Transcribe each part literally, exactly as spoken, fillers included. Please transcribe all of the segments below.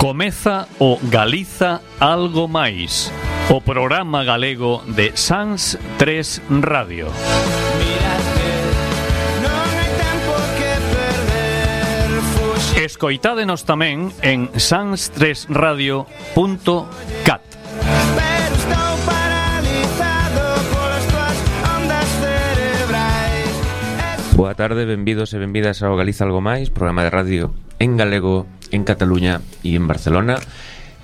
Comeza o Galiza Algo Máis, o programa galego de Sans tres Radio. Escoitádenos tamén en sans tres radio punto cat. Boa tarde, benvidos e benvidas ao Galiza Algo Máis, programa de radio en galego, en Cataluña e en Barcelona.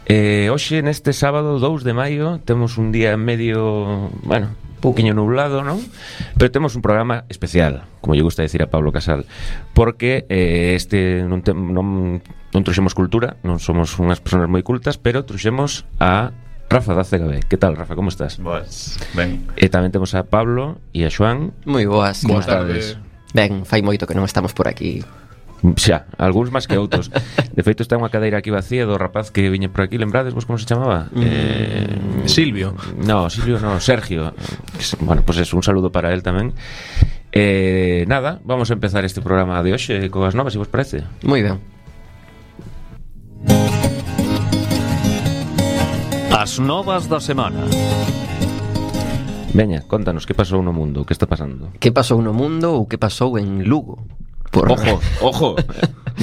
eh, Hoxe, neste sábado dous de maio, temos un día medio, bueno, un pouquiño nublado, non? Pero temos un programa especial, como lle gusta decir a Pablo Casal, porque eh, este non, te, non, non truxemos cultura, non somos unhas persoas moi cultas, pero truxemos a Rafa da C G B. Que tal, Rafa, como estás? Boas, ben. E tamén temos a Pablo e a Xoán. Moi boas. Boas tardes. Ben, fai moito que non estamos por aquí. Xa, algúns máis que outros. De feito, está unha cadeira aquí vacía do rapaz que viña por aquí. Lembrades vos como se chamaba? Mm. Eh, Silvio. No, Silvio no, Sergio. Bueno, pois pues es un saludo para él tamén. Eh, nada, vamos a empezar este programa de hoxe coas novas, se vos parece. Moi ben. As novas da semana. Veña, contanos, que pasou no mundo? Que está pasando? Que pasou no mundo ou que pasou en Lugo? Por... Ojo, ojo,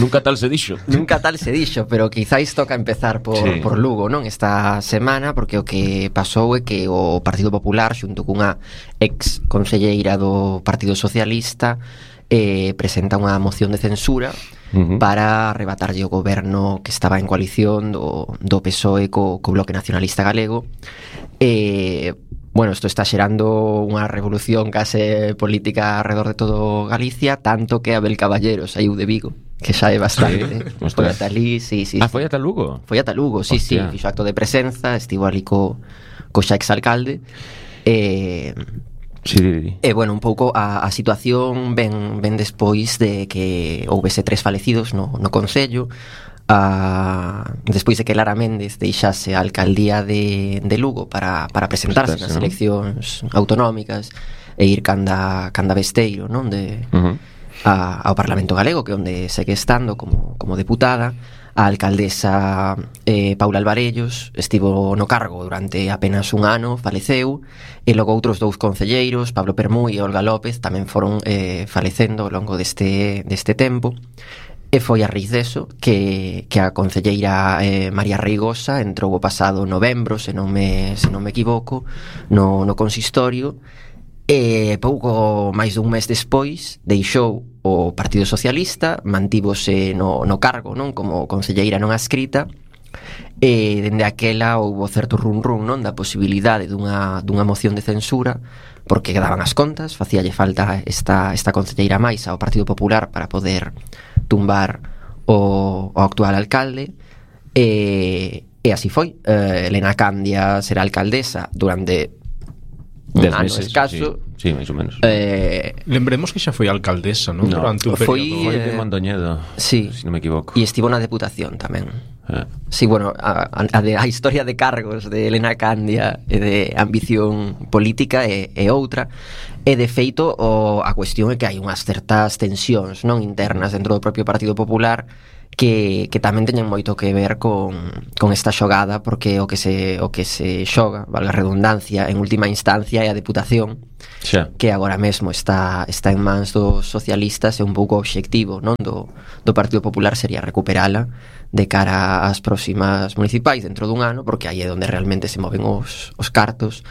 nunca tal se dixo. Nunca tal se dixo, pero quizáis toca empezar por, sí. por Lugo, non? Esta semana, porque o que pasou é que o Partido Popular, xunto cunha ex conselleira do Partido Socialista, eh, presenta unha moción de censura uh-huh. para arrebatarlle o goberno que estaba en coalición do, do P S O E co, co Bloque Nacionalista Galego. E... Eh, Bueno, isto está xerando unha revolución case política alrededor de todo Galicia, tanto que Abel Caballero saiu de Vigo, que xa é bastante. Sí, foi ata ali, sí, sí. Ah, sí. foi ata Lugo? Foi ata Lugo, sí, Hostia. sí, fixo acto de presenza, estivo ali co, co xa exalcalde. E... Sí. E, bueno, un pouco a, a situación ven, ven despois de que houvese tres falecidos no, no Concello. A, despois de que Lara Méndez deixase a alcaldía de, de Lugo para, para presentarse nas eleccións autonómicas e ir canda, canda Besteiro, non? De, uh-huh. a, ao Parlamento Galego, que onde segue estando como, como deputada. A alcaldesa eh, Paula Alvarellos estivo no cargo durante apenas un ano, faleceu, e logo outros dous concelleiros, Pablo Permui e Olga López, tamén foron eh, falecendo ao longo deste, deste tempo. E foi a raíz deso que, que a concelleira eh, María Reigosa entrou o pasado novembro, se non me, se non me equivoco, no, no consistorio, e pouco máis dun mes despois deixou o Partido Socialista, mantívose no, no cargo, non, como concelleira non adscrita, e dende aquela houbo certo run run, non, da posibilidade dunha, dunha moción de censura, porque quedaban as contas, facíalle falta esta, esta concelleira máis ao Partido Popular para poder tumbar o, o actual alcalde. E, e así foi. eh, Elena Candia será alcaldesa durante un Dez ano meses, escaso. Sí, sí, máis ou menos. eh, Lembremos que xa foi alcaldesa, non? No, Durante un foi, período. Foi de Mondoñedo, sí. se non me equivoco. E estivo na Deputación tamén. Ah. Sí, bueno, a, a, a historia de cargos de Elena Candia e de ambición política é, é outra. E de feito o, a cuestión é que hai unhas certas tensións, non, internas dentro do propio Partido Popular que, que tamén teñen moito que ver con, con esta xogada, porque o que se o que se xoga, valga a redundancia, en última instancia é a Deputación, xa, que agora mesmo está está en mans dos socialistas, e un pouco o obxectivo, non, do, do Partido Popular sería recuperala de cara ás próximas municipais dentro dun ano, porque aí é onde realmente se moven os, os cartos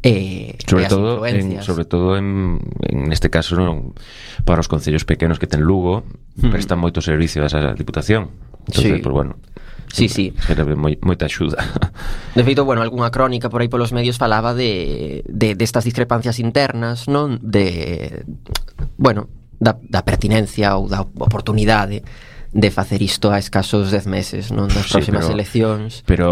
e, sobre e as todo en, influencias. sobre todo en, en este caso, non, para os concellos pequenos que ten Lugo, mm. prestan moito servicio a esa Diputación. Entonces, Sí. pues bueno, Sí, sí. serve moi, moita axuda. De feito, bueno, algunha crónica por aí polos medios falaba de, de destas discrepancias internas, non? De, bueno, da, da pertinencia ou da oportunidade de facer isto a escasos dez meses, non, das Sí, próximas pero, eleccións. Pero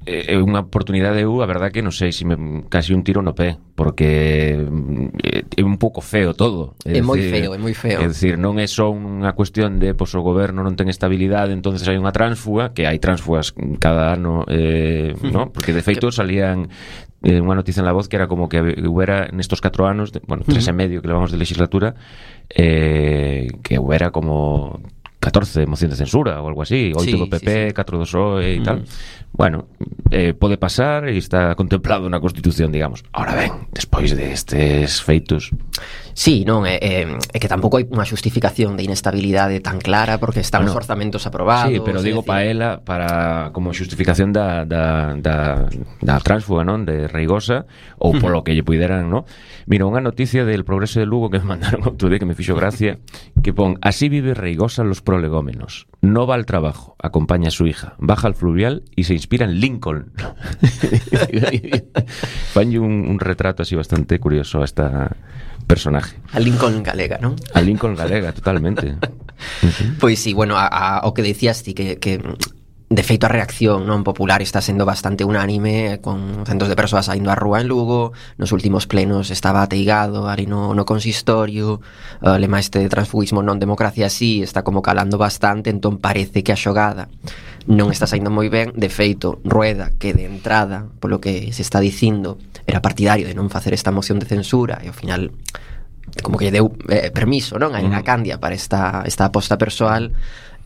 é unha oportunidade, eu, a verdad que non sei, se me casi un tiro no pé, porque é un pouco feo todo. É, é moi feo, é moi feo. É dicir, non é só unha cuestión de, pois, o goberno non ten estabilidade, entonces hai unha tránsfuga, que hai tránsfugas cada ano, eh, ¿no? Porque de feito salían eh, unha noticia en La Voz que era como que hubiera nestos catro anos, de, bueno, tres e medio que levamos de legislatura, eh, que hubiera como catorce moción de censura ou algo así, oito Sí, do P P, sí, sí. catro do P S O E e tal. Bueno, eh, pode pasar e está contemplado na Constitución, digamos. Ahora ben, despois destes feitos... Sí, non, é, é, é que tampouco hai unha xustificación de inestabilidade tan clara porque están Bueno, os orzamentos aprobados. Sí, pero digo para ela, para como xustificación da, da, da, da tránsfuga, non? De Reigosa, ou polo que lle puideran, non? Mira, unha noticia del Progreso de Lugo que me mandaron outro día que me fixo gracia, que pon, así vive Reigosa los prolegómenos. No va al trabajo, acompaña a su hija, baja al fluvial y se inspira en Lincoln. Fanlle un, un retrato así bastante curioso a esta personaje. A Lincoln galega, non? A Lincoln galega, totalmente. Pois sí, bueno, a, a, o que decías ti que, que de feito a reacción non popular está sendo bastante unánime, con centos de persoas saindo á rúa en Lugo. Nos últimos plenos estaba ateigado ali no, no consistorio. O lema este de transfugismo non democracia sí está como calando bastante, entón parece que a xogada non está saindo moi ben. De feito, Rueda, que de entrada, polo que se está dicindo, era partidario de non facer esta moción de censura, e ao final como que lle deu eh, permiso, non? A Elena Candia para esta, esta aposta persoal,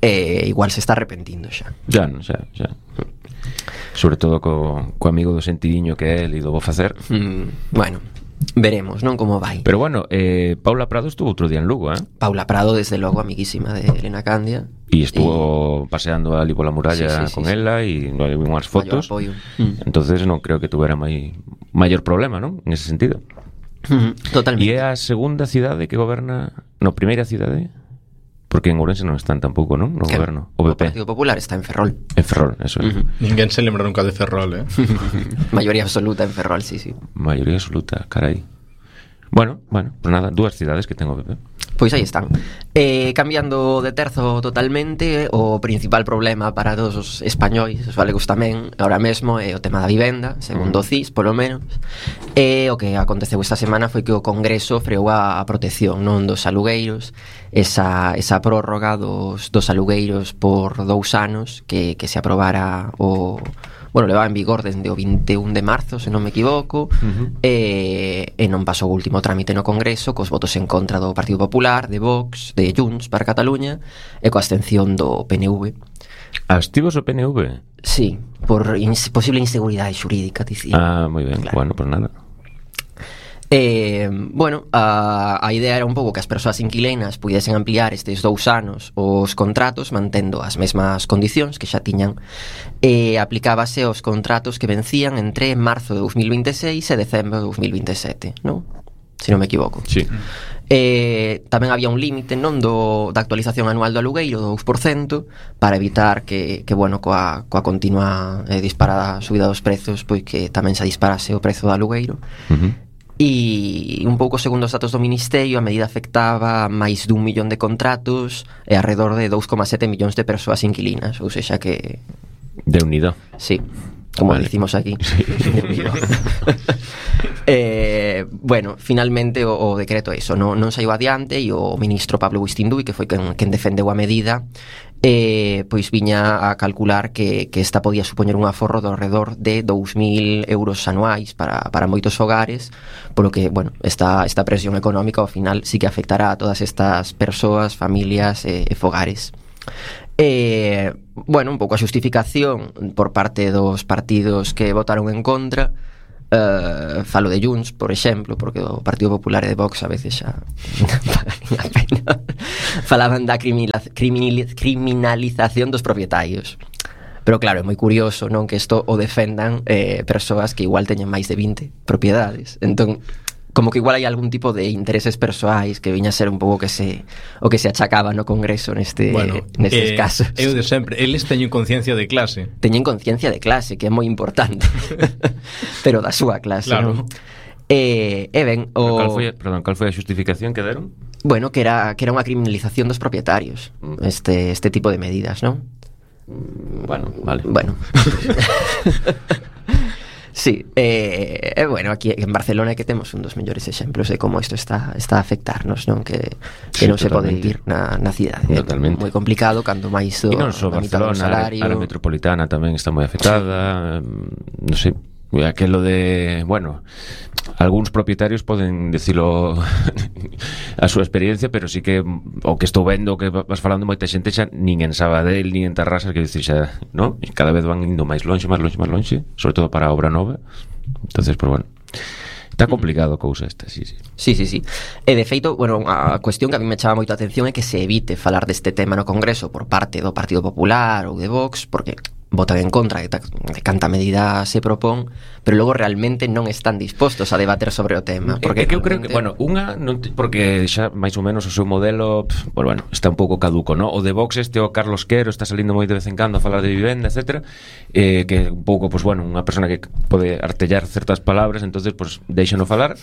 eh, igual se está arrepentindo xa. Ya, non, xa, xa. Sobre todo co, co amigo do sentidiño que é el e do bo facer. Mm, bueno, veremos, non, como vai. Pero bueno, eh, Paula Prado estuvo outro día en Lugo, eh? Paula Prado, desde logo, amiguísima de Elena Candia. E estuvo y... paseando ali pola muralla sí, sí, con sí, ela e no hai unhas fotos. Mm. Entonces non creo que tuvera mai maior problema, non? En ese sentido. Mm, totalmente. E é a segunda cidade que goberna, no, primeira cidade, porque en Ourense non están tampouco, non? No que goberno, o P P. O Partido Popular está en Ferrol. En Ferrol, eso é. Uh-huh. Ninguén se lembra nunca de Ferrol, eh? Mayoría absoluta en Ferrol, sí, sí. Mayoría absoluta, carai. Bueno, bueno, pues nada, dúas cidades que ten o P P. Pois aí están. Eh, cambiando de terzo totalmente, o principal problema para todos os españois, os galegos tamén, ahora mesmo é o tema da vivenda, segundo o C I S, polo menos. E o que aconteceu esta semana foi que o Congreso freou a protección, non, dos alugueiros, esa, esa prórroga dos, dos alugueiros por dous anos que, que se aprobara o... Bueno, levaba en vigor desde o vinte e un de marzo, se non me equivoco, uh-huh. e, e non pasou o último trámite no Congreso, cos votos en contra do Partido Popular, de Vox, de Junts para Cataluña, e coa abstención do P N V. Abstivos o P N V? Sí, por ins- posible inseguridade xurídica, dicía. Ah, moi ben, claro. Bueno, pues nada. Eh, bueno, a, a idea era un pouco que as persoas inquilinas puidesen ampliar estes dous anos os contratos mantendo as mesmas condicións que xa tiñan, e aplicábase aos contratos que vencían entre marzo de dos mil veintiséis e decembro de dos mil veintisiete, non? Se non me equivoco. Sí. Eh, tamén había un límite, non, do, da actualización anual do alugueiro do dous por cento para evitar que, que bueno, coa, coa continua eh, disparada subida dos prezos, pois que tamén se disparase o prezo do alugueiro. Uh-huh. E un pouco segundo os datos do Ministerio, a medida afectaba máis dun millón de contratos e alrededor de dous coma sete millóns de persoas inquilinas, ou seja que... De unido. Sí, como vale. Dicimos aquí. Sí. eh, bueno, finalmente o, o decreto é iso, non, non saiu adiante, e o ministro Pablo Buistindui, que foi quen, quen defendeu a medida, eh, pois viña a calcular que, que esta podía supoñer un aforro do alrededor de dous mil euros anuais para, para moitos hogares, polo que, bueno, esta, esta presión económica ao final sí que afectará a todas estas persoas, familias e, e fogares. Eh, bueno, un pouco a xustificación por parte dos partidos que votaron en contra. Uh, falo de Junts, por exemplo, porque o Partido Popular e de Vox a veces xa a pena. Falaban da criminaliz- criminaliz- criminalización dos propietarios. Pero claro, é moi curioso, non, que isto o defendan eh, persoas que igual teñen máis de vinte propiedades. Entón, como que igual hai algún tipo de intereses persoais que viña a ser un pouco que se o que se achacaba no Congreso neste bueno, nestes eh, casos. Eu de sempre, eles teñen conciencia de clase. Teñen conciencia de clase, que é moi importante. Pero da súa clase, claro. non? E, e ben, o... Cal foi, perdón, cal foi a xustificación que deron? Bueno, que era que era unha criminalización dos propietarios, este este tipo de medidas, non? Bueno, vale. Bueno. Sí, eh, eh, bueno, aquí en Barcelona é que temos un dos mellores exemplos de como isto está está a afectarnos, non? Que, que Sí, non se pode totalmente. vivir na, na cidade. Totalmente. É moi complicado cando máis do, E non só a mitad do Barcelona, salario. a área metropolitana tamén está moi afectada, sí. Non sei, aquelo de, bueno, algúns propietarios poden decilo a súa experiencia, pero sí que o que estou vendo, que vas falando moita xente xa nin en Sabadell, nin en Tarrasa, que dicir xa, ¿no? E cada vez van indo máis lonxe, máis lonxe, máis lonxe, sobre todo para a obra nova. Entonces, pues bueno, está complicado a cousa esta, sí, sí. Sí, sí, sí. E de feito, bueno, a cuestión que a mí me chama moito a atención é que se evite falar deste tema no Congreso por parte do Partido Popular ou de Vox, porque votan en contra de, de canta medida se propón, pero logo realmente non están dispostos a debater sobre o tema. Porque é que eu creo que, bueno, unha non te, porque xa máis ou menos o seu modelo, pff, pues, bueno, está un pouco caduco, ¿no? O de Vox este, o Carlos Quero, está salindo moi de vez en cando a falar de vivenda, etcétera, eh, que un pouco, pues bueno, unha persona que pode artellar certas palabras, entonces, pues, deixano falar,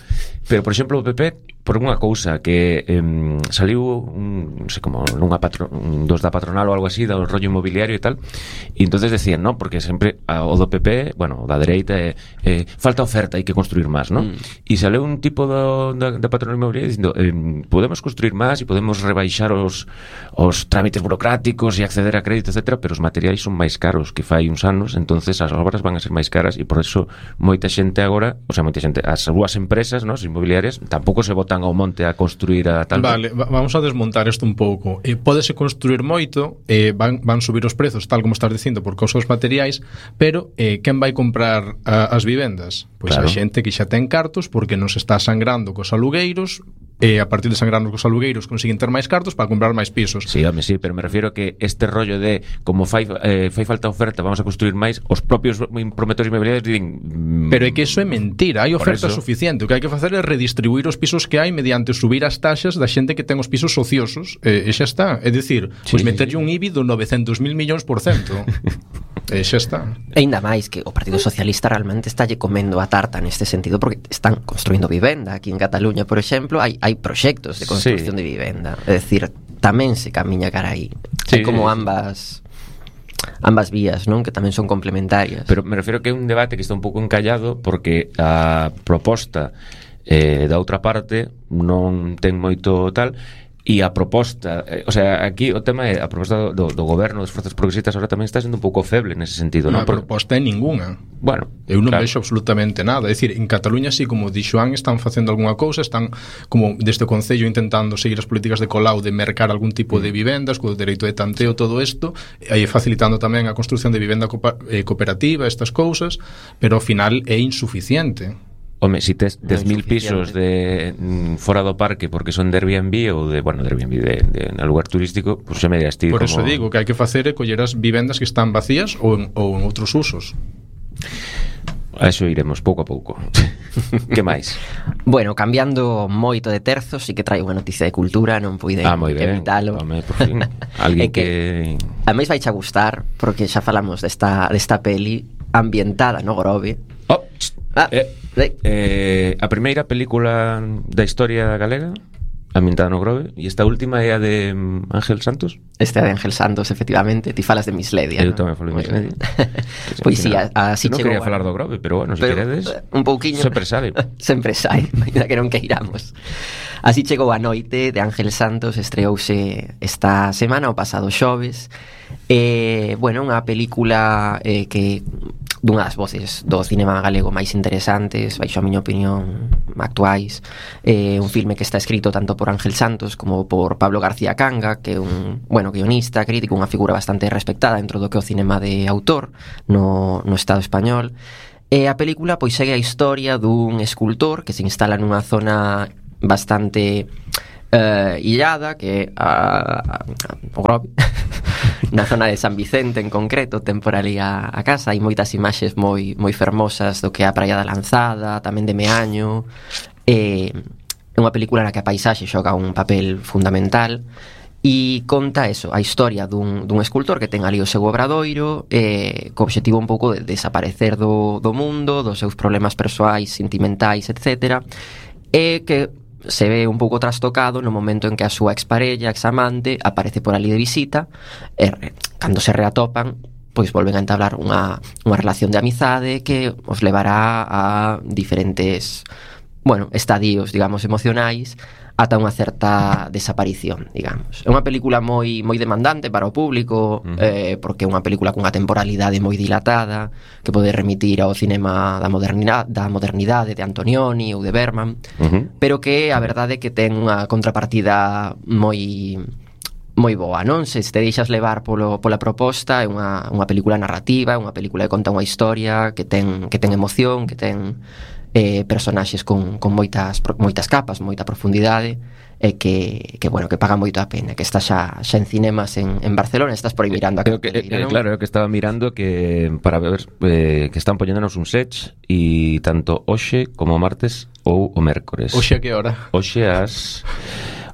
pero, por exemplo, o P P, por unha cousa que eh, saliu un, non sei como, nunha patro, un dos da patronal ou algo así, do rollo inmobiliario e tal, e entonces decían, ¿no? Porque sempre a, o do P P, bueno, da dereita é eh, eh, falta oferta, hai que construir máis, ¿no? Mm. E sale un tipo do, da, da patronal inmobiliaria dicindo eh, podemos construir máis e podemos rebaixar os, os trámites burocráticos e acceder a crédito, etcétera, pero os materiais son máis caros que fai uns anos, entonces as obras van a ser máis caras e por eso moita xente agora, o sea, moita xente, as súas empresas, ¿no? As inmobiliarias, tampouco se botan ao monte a construir a tal... Vale, vamos a desmontar isto un pouco. Eh, pódese construir moito, eh, van, van subir os prezos, tal como estás dicindo, por causa dos materiais, pero eh, quen vai comprar a, as vivendas? Pois claro, a xente que xa ten cartos porque non se está sangrando cos alugueiros, e a partir de sangrarnos cos alugueiros consiguen ter máis cartos para comprar máis pisos. Sí, home, sí, pero me refiero que este rollo de como fai, eh, fai falta oferta, vamos a construir máis, os propios promotores inmobiliarios din... Pero é que iso é mentira, hai oferta suficiente. O que hai que facer é redistribuir os pisos que hai mediante subir as taxas da xente que ten os pisos ociosos, e, e xa está. É dicir, sí, pois meterlle sí, un I B I do novecentos mil millóns por cento. E xa está. E ainda máis que o Partido Socialista realmente estálle comendo a tarta neste sentido, porque están construindo vivenda aquí en Cataluña, por exemplo, hai hai proxectos de construcción sí, de vivenda. É dicir, tamén se camiña cara aí. Sí, hai como ambas ambas vías, non? Que tamén son complementarias. Pero me refiero que é un debate que está un pouco encallado porque a proposta eh, da outra parte non ten moito tal. E a proposta, eh, o sea, aquí o tema é a proposta do, do goberno das forzas progresistas ahora tamén está sendo un pouco feble nese sentido, non? A proposta é ninguna. Bueno, eu non claro, vexo absolutamente nada. É dicir, en Cataluña, así como di Xoán, están facendo algunha cousa, están como desde o Concello intentando seguir as políticas de Colau de mercar algún tipo de vivendas, co dereito de tanteo, todo isto, e facilitando tamén a construción de vivenda cooperativa, estas cousas, pero ao final é insuficiente. Home, si tes dez mil pisos de mm, fora do parque porque son de Airbnb ou de, bueno, de Airbnb de, de, de lugar turístico, pois pues xa me dirás ti. Por como... eso digo que hai que facer é coller as vivendas que están vacías ou en, ou en outros usos. A eso iremos pouco a pouco. Que máis? Bueno, cambiando moito de terzo, sí que traio unha noticia de cultura, non puide ah, moi ben, evitalo. Home, por fin. Alguén que... que... A máis vai xa gustar, porque xa falamos desta, desta peli ambientada no Grove. Oh, ah, eh, eh, a primeira película da historia galega ambientada no Grove, e esta última é a de Ángel Santos. Esta é de Ángel Santos, efectivamente. Ti falas de Misledia, eu ¿no? tamén falo de Misledia. Pois si, así non chegou. quería falar do Grove, pero bueno, se si queredes un pouquiño sempre sai. Sempre sai, ainda que non queiramos. Así chegou a noite de Ángel Santos, estreouse esta semana, o pasado xoves. Eh, bueno, unha película eh, que dunha das voces do cinema galego máis interesantes, baixo a miña opinión, actuais. Eh, un filme que está escrito tanto por Ángel Santos como por Pablo García Canga, que é un, bueno, guionista, crítico, unha figura bastante respectada dentro do que é o cinema de autor no, no Estado español. E a película pois segue a historia dun escultor que se instala nunha zona bastante uh, illada, que é a, a, o Grove, na zona de San Vicente en concreto, ten por ali a, a casa. Hai moitas imaxes moi moi fermosas do que é a Praia da Lanzada, tamén de Meaño. É unha película na que a paisaxe xoga un papel fundamental e conta eso, a historia dun, dun escultor que ten ali o seu obradoiro, eh, co obxectivo un pouco de desaparecer do, do mundo, dos seus problemas persoais, sentimentais, etcétera, e que se ve un pouco trastocado no momento en que a súa exparella, examante, aparece por ali de visita, e cando se reatopan, pois volven a entablar unha, unha relación de amizade que os levará a diferentes bueno, estadios, digamos, emocionais ata unha certa desaparición, digamos. É unha película moi moi demandante para o público, uh-huh. eh, porque é unha película cunha temporalidade moi dilatada, que pode remitir ao cinema da modernidade, da modernidade de Antonioni ou de Bergman, uh-huh. pero que a verdade é que ten unha contrapartida moi moi boa, non? Se te deixas levar polo, pola proposta, é unha, unha película narrativa, é unha película que conta unha historia que ten, que ten emoción, que ten eh, personaxes con, con moitas, moitas capas, moita profundidade, e que, que bueno, que paga moito a pena, que está xa, xa en cinemas en, en Barcelona. Estás por aí mirando a Creo que, eh, claro, eu que estaba mirando que para ver eh, que están poñéndonos un sech, e tanto hoxe como martes ou o mércores. Hoxe a que hora? Hoxe as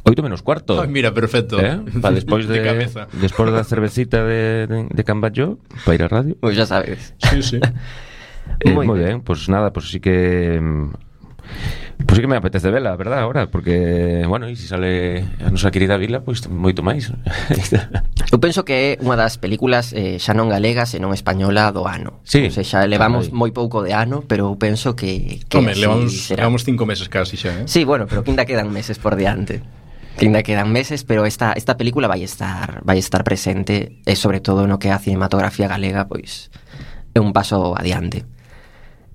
oito menos cuarto. Ai, mira, perfecto. ¿Eh? Para despois de, de despois da cervecita de, de, de Camballo, para ir á radio. Pois pues ya sabes. Sí, sí. Eh, moi ben, pois pues nada, pois pues sí que pois pues sí que me apetece vela, verdad, ahora, porque, bueno, e se si sale a nosa querida vila, pois pues, moito máis. Eu penso que é unha das películas eh, xa non galegas e non española do ano. Sí. O sea, xa levamos Ay. moi pouco de ano, pero eu penso que, que Home, levamos, levamos cinco meses casi xa, eh? Sí, bueno, pero que ainda quedan meses por diante. Que ainda quedan meses, pero esta, esta película vai estar vai estar presente, e sobre todo no que a cinematografía galega, pois é un paso adiante.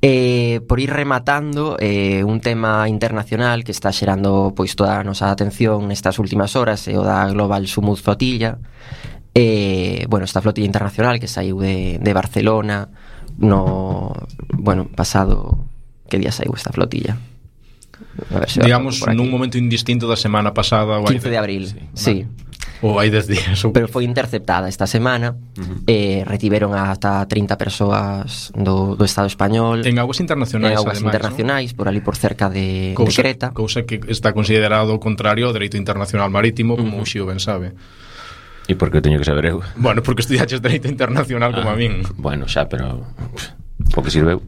Eh, por ir rematando, eh, un tema internacional que está xerando pois toda a nosa atención nestas últimas horas é o da Global Sumud Flotilla. Eh, bueno, esta flotilla internacional que saiu de, de Barcelona no, bueno, pasado, que día saiu esta flotilla? A ver se digamos nun momento indistinto da semana pasada, quince de abril, sí, vale. Ou hai dez días ou... Pero foi interceptada esta semana, uh-huh. eh, retiveron ata trinta persoas do, do Estado español en aguas internacionais, en aguas ademais, internacionais, ¿no? Por ali por cerca de, cousa, de Creta, cousa que está considerado o contrario ao dereito internacional marítimo, como uh-huh. o Xio ben sabe. E por que teño que saber eu? Bueno, porque estudiaches dereito internacional ah, como a min. Bueno, xa, pero porque sirveu.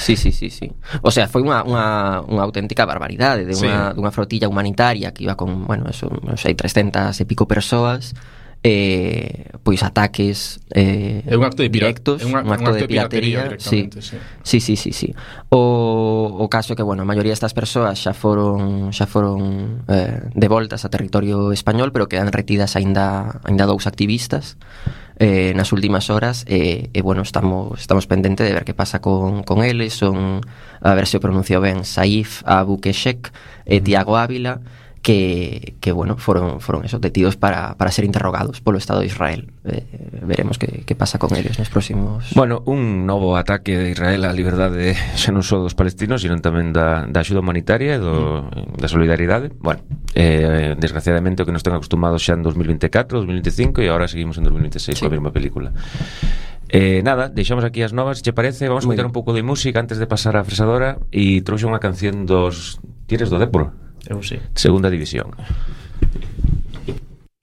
Sí, sí, sí, sí. O sea, foi unha, unha, unha auténtica barbaridade de unha, sí. dunha flotilla humanitaria que iba con, bueno, eso, non sei, trescentas e pico persoas, eh, pois ataques eh, é un acto de directos, un, un acto, un acto de, de piratería, sí. sí. Sí, sí, sí, sí. O, o caso que, bueno, a maioría destas persoas xa foron xa foron eh, devoltas a territorio español, pero quedan retidas aínda aínda dous activistas eh, nas últimas horas, e, eh, eh, bueno, estamos estamos pendente de ver que pasa con, con eles. Son, a ver se o pronuncio ben, Saif Abu Keshek e Tiago Ávila, que, que bueno, foron foron esos detidos para, para ser interrogados polo Estado de Israel. Eh, veremos que, que pasa con eles nos próximos... Bueno, un novo ataque de Israel á liberdade xa non só dos palestinos, sino tamén da, da axuda humanitaria e do, mm. da solidaridade. Bueno, eh, desgraciadamente o que nos ten acostumados xa en dos mil veinticuatro, dos mil veinticinco, e agora seguimos en dos mil veintiséis sí. coa mesma película. Eh, nada, deixamos aquí as novas, che parece? Vamos a escutar un pouco de música antes de pasar á fresadora, e trouxe unha canción dos Tires do Dépor. Eu sí. Segunda división.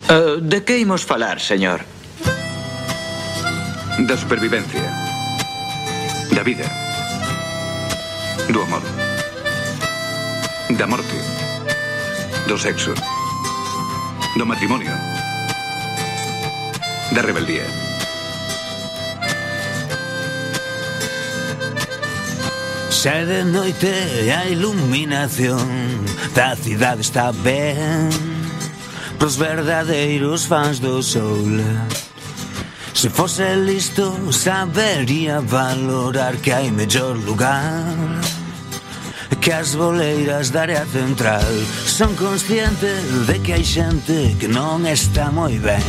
Uh, de que imos falar, señor? Da supervivencia, da vida, do amor, da morte, do sexo, do matrimonio, da rebeldía. Xa de noite a iluminación da cidade está ben pros verdadeiros fans do sol. Se fose listo sabería valorar que hai mellor lugar que as boleiras da área central. Son consciente de que hai xente que non está moi ben,